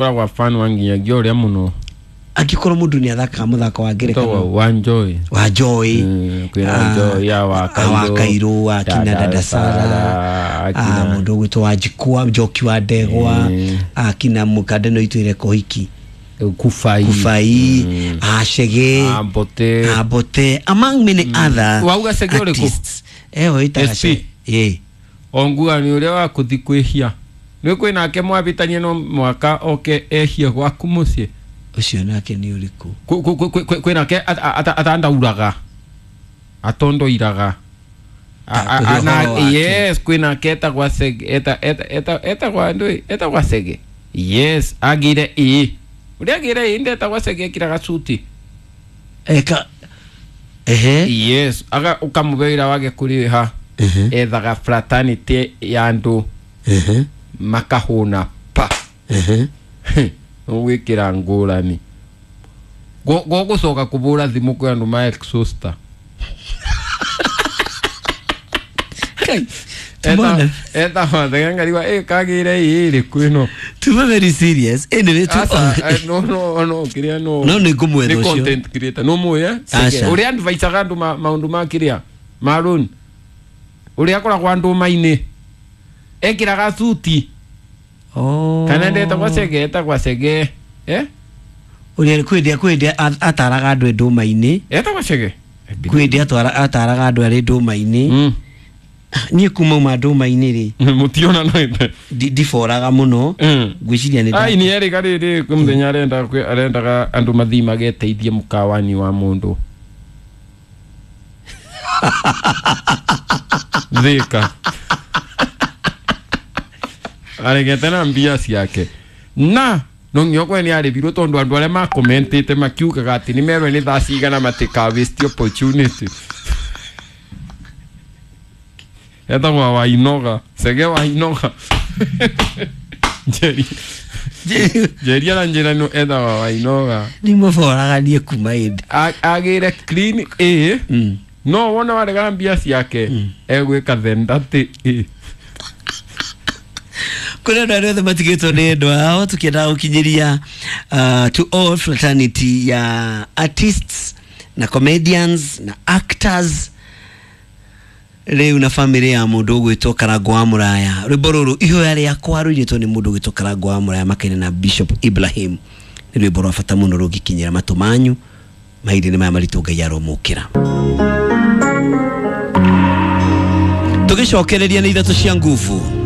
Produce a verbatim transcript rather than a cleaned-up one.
Koragwa fan wa nginyagia ũrĩa mũno. Angĩkorwo mũndũ nĩ athakaga mũthako wa ngerekano wa Joy. Wa Joy. Mm, kwĩna Joy ya wa Kairũ, wa Kairũ, akina Dada Sara, akina mũndũ ũgwĩtwo wa Njikwa, Njoki wa Ndegwa, akina mũkande no itwĩre Kohiki, Kufai, Kufai, Achege, Ambote, Ambote, among many other Wauga Chege ũrĩkũ? artists. Eh, wĩtaga S P. Chege. Eh. Ongua nĩ ũrĩa wa kũthi kwĩhia nĩ kwĩ nake mwabĩtanie no mwaka oke ehie gwaku mũciĩ. Ũcio nake nĩ ũrĩkũ? Kwĩ nake atandauraga atondoiraga. Yes, kwĩ nake etagwa Sege, etagwa ndũĩ, etagwa Sege. Yes, agire ĩ ũrĩa agire ĩ ndetagwa Sege, ekĩraga suti. Eka ehe. Yes, aga ũkamũhe wĩra wage kũrĩha, ethaga fraternity ya andũ makahũna pa ũgwĩkĩra ngũrani gũgũcoka kũbũra thimũ kwĩ andũ ma exhauster. Etagwa ĩ kagĩre ĩ ĩrĩkũ ĩno. Tuma very serious anyway tu. Aca, no no no kĩrĩa no no nĩ ngũmwetha nĩ ũcio content creator no mũĩ Aca. ũrĩa advisaga andũ maũndũ ma kĩrĩa ma loan, ũrĩa akoragwo andũ-mainĩ ekĩraga suti. Oh. Kana ndetagwa Chege, etagwa Chege eh ũrĩa kwĩ kwĩ ataraga andũ ndũma-inĩ. Etagwa Chege. Kwĩ ataraga andũ arĩ ndũma-inĩ. Niĩ kuma uma ndũma-inĩ rĩ, mũtiona no ite ndiboraga mũno, ngwĩciria nĩ ai nĩ erĩga rĩrĩ kwĩ mũthenya arenda arendaga andũ mathiĩ mageteithie mũkawani wa mũndũ Thika aregete na mbia ciake na no nginya kwe nĩ arĩbirwo tondũ andũ arĩa makomentĩte makiugaga atĩ nĩ merwo nĩ thaa cigana matika waste opportunity. Etagwa Wainoga, Sege Wainoga. Njeri Njeri aranjĩra no etagwa Wainoga. Nĩ mũboraga niĩ kuma ĩndĩ agĩre clean A no wona waregana mbia ciake egwĩka thendatĩ A. Kũrĩ andũ arĩa othe matigĩtwo nĩ endwa ao, tũkĩendaga gũkinyĩria to all fraternity ya artists na comedians na actors rĩu na family ya mũndũ ũgwĩtwo Karangũ wa Mũraya. Rwĩmbo rũrũ ihoya rĩakwa rũinĩtwo nĩ mũndũ ũgwĩtwo Karangũ wa Mũraya makĩria na Bishop Ibrahim. Nĩ rwĩmbo rwa bata mũno rũngĩkinyĩra matũ manyu mahinda-inĩ maya maritũ. Ngai aromũkĩra. Tũgĩcokereria nĩ ithatũ cia nguvu.